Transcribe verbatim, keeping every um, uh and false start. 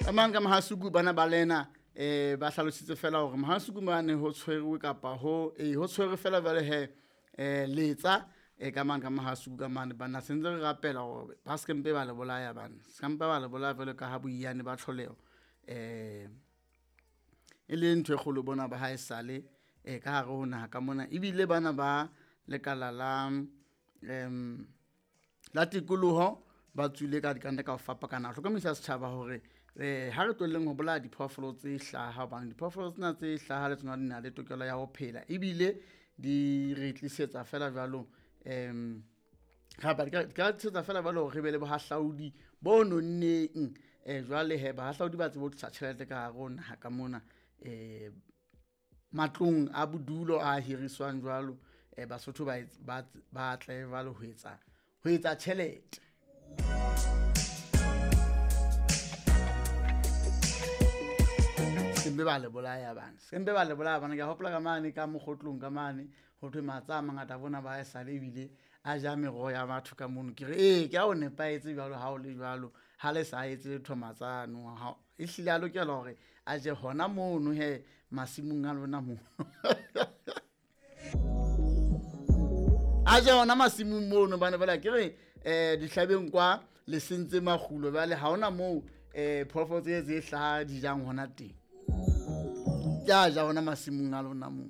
Amang ka Mahasuku bana ba lena eh ba hlalositse fela hore Mahasuku mane ho tshwerwe kapa ho eh ho tshwerwe fela jwale he eh letsa e ka mang ka Mahasuku ka mane bana sentse re rapela hore ba se mpe ba le bolaya bana se mpe ba le bolaya jwalo ka ha boiyane ba tlholeho eh e le ntho e kgolo bona ba ha e sale e ka hare ho naha ka mona ebile bana ba lekala la em la tikoloho ba tswile ka dikante ka ho fapakana ho hlokomedisa setjhaba hore eh ha re tlohelleng ho bolaya diphoofolo tse hlaha hobane diphoofolo tsena tse hlaha le tsona di na le tokelo ya ho phela ebile di re tlisetsa fela jwalo em kapa di ka di ka tlisetsa fela jwalo hore re be le bohahlaudi bo nonneng eh jwale he bahahlaudi ba tsebe ho tlisa tjhelete ka hare ho naha ka mona eh matlong a bodulo a hiriswang jwalo eh Basotho ba ba ba tle jwalo ho etsa ho etsa tjhelete. Sembe ba le bolaya bana sembe ba le bolaya bana ke hopola ka mane ka mokgotlong ka mane ho thwe matsa a mangata bona ba e sale ebile a ja meroho ya batho ka mono ke re ee ke a o nepahetse jwalo ha o le jwalo ha le sa etse letho matsano ha e hlile a lokela hore a je hona mono he masimong a lona mono a je hona masimong mono bana bala ke re eh dihlabeng kwa le sentse makgulo jwale ha hona moo eh phoofolo tse tse hlaha di jang hona teng ke a ja hona masimong a lona moo.